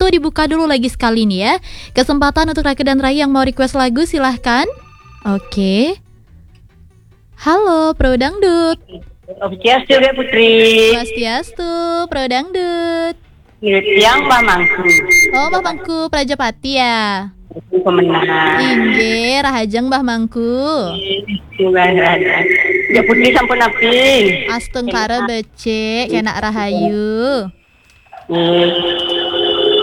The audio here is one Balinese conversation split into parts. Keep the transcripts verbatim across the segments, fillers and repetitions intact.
Dibuka dulu lagi sekali nih ya. Kesempatan untuk Raka dan Rai yang mau request lagu, silahkan. Oke. Halo, Pro Dangdut. Swastiastu, Dek Putri. Swastiastu, Pro Dangdut. Ngirit tiang, Mbah Mangku. Oh, Mbah Mangku Prajapati ya. Pemenang. Inggih, rahajeng Mbah Mangku. Inggih, rahajeng. Dek Putri sampun napi? Astungkara becik, kenak rahayu. Nggih.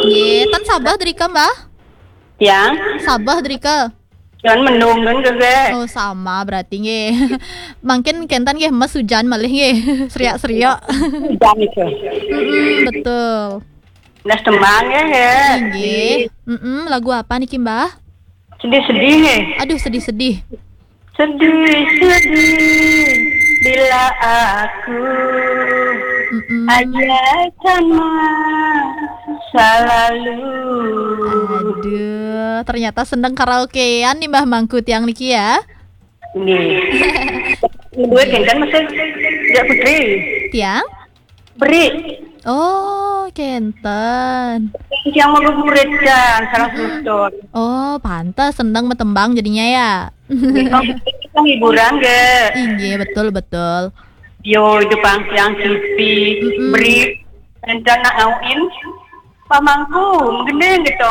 Nggih, ten sabeh drika, Mbah? Tiang? Sabeh drika. Cuman mendung, kan, Dek. Oh, sama berarti nggih. Mangkin kenten nggih, mes hujan malih nggih. Seriak-seriak. Hujan itu. Mm-mm, betul. Ndas tembang ya, ya. Inggih. Mm-mm, lagu apa niki, Mbah? Sedih-sedih nggih. Aduh, sedih-sedih. Sedih-sedih bila aku Mm-mm. ajak sama selalu. Aduh, ternyata seneng karaokean nih Mbah Mangku tiang niki ya. Nggih. Duet kenten mesti, Dek Putri. Tiang? Beri. Oh, kenten. Yang mau murid kan, salah Mm-mm. semeton. Oh, pantes seneng metembang jadinya ya. Nggih, kan hiburan, nggih. Inggih, betul, betul. Yo, itu pang tiang T V, Mm-mm. Beri, rencana ngawin, pamangku, menggending gitu.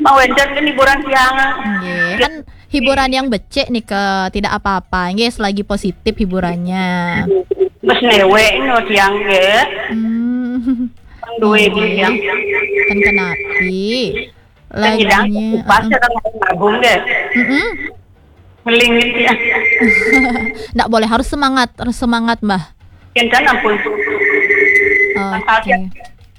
Mau encer kan hiburan tiang. Nggih, kan hiburan yang becik nih ke, tidak apa-apa. Nggih, selagi positif hiburannya. Mas newek no tiang nggih. Hmm. Pang duwe Nggih. Tiang. Kan kenapi. Kan nyidang Lagunya, pas heeh. Orang ngabung nggih. Mm-mm. Ngeling gitu ya. Ndak boleh, harus semangat, harus semangat, Mbah. Kenten ampun. Oke. Pasal tiap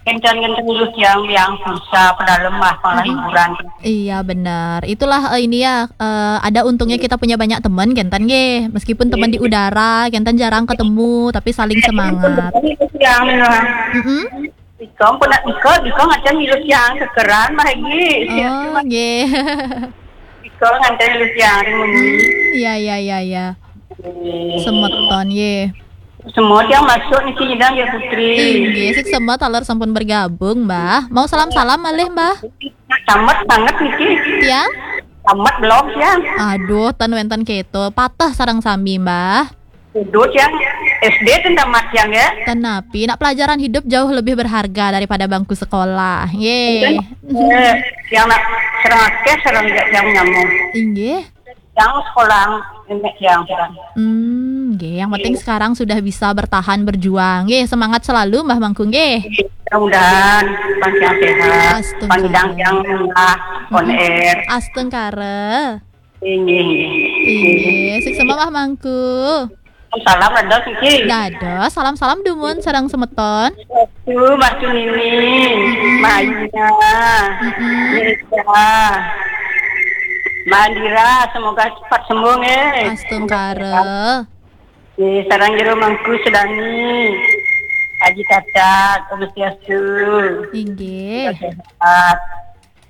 kenten-kenten dulu tiang yang susah, pada lemah, malah Mm-mm. hiburan. Iya, benar. Itulah, eh, ini ya, eh, ada untungnya kita punya banyak teman, kenten nggih. Meskipun teman di Iya. Udara, kenten jarang ketemu, tapi saling semangat. Yang Mm-mm. Iko pun nak iko, iko ngajak milu tiang kekeran, Mbah Egi. Oh, nggih. Iko ngajak milu tiang ring muni. Hmm, iya, iya, iya, iya. Semeton, nggih. Semua tiang masuk niki nyidang ya, Putri. Inggih, sik semet taler sampun bergabung, Mbah. Mau salam-salam malih, Mbah? Tamat banget niki. Tiang? Tamat belum tiang. Aduh, ten wenten keto. Patah sareng sami, Mbah. Duduk tiang S D ten tamat tiang ya. Ten napi, nak pelajaran hidup jauh lebih berharga daripada bangku sekolah. Nggih. Eh, yang nak serang akeh, serang tidak yang nyamuk. Inggih. Yang sekolah, enek yang serang. Hmm, nggih, yang penting Iya. sekarang sudah bisa bertahan berjuang. Nggih, semangat selalu Mbah Mangku nggih. Mudah-mudahan panjang sehat, Astungkara. Panjang yang murah, on Mm-mm. air. Astungkara. Inggih, inggih. Inggih, sik semangat Mbah Mangku. Salam dados niki. Dados, salam-salam dumun sareng semeton. Tuh, Mas Tunini, Mm-mm. Mbak Aina, Mm-mm. Nisa, Mbak Andira, semoga cepat sembuh nggih. Astungkara. Nggih, sareng jero Mangku Sedani. Haji Cacat, Om Swastiastu. Inggih. Sehat.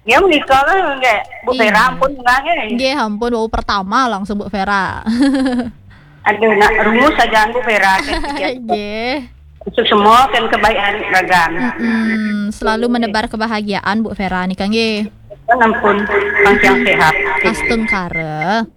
Ya menika kan nggih, Bu Iya. Vera ampun nggih. Nggih, ampun, wau pertama langsung Bu Vera. Aduh, nak rungu saja Bu Vera. Nggih. Untuk semua kan kebaikan ragan. Mm-mm, selalu menebar kebahagiaan Bu Vera nika nggih. Ampun, panjang sehat. Astungkara.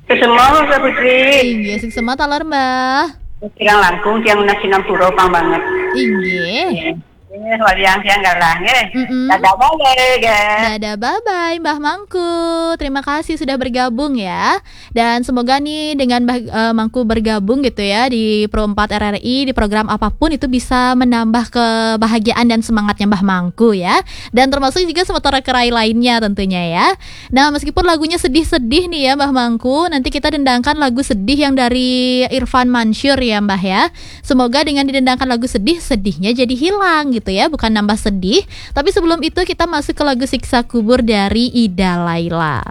Ke semua, Mbak Putri. Inggih, sik semangat taler, Mbah. Tiang langkung, tiang nasi nampura pang banget. Inggih. Eh, waliang tiang galah nggih. Mm-mm. Dadah bye, nggih. Dadah, bye-bye, Mbah Mangku. Terima kasih sudah bergabung ya. Dan semoga nih dengan Mbah, eh, Mangku bergabung gitu ya di Pro empat R R I, di program apapun itu bisa menambah kebahagiaan dan semangatnya Mbah Mangku ya. Dan termasuk juga semeton kerai lainnya tentunya ya. Nah, meskipun lagunya sedih-sedih nih ya, Mbah Mangku, nanti kita dendangkan lagu sedih yang dari Irfan Mansur ya, Mbah ya. Semoga dengan didendangkan lagu sedih, sedihnya jadi hilang gitu ya, bukan nambah sedih. Tapi sebelum itu kita masuk ke lagu Siksa Kubur dari Ida Laila.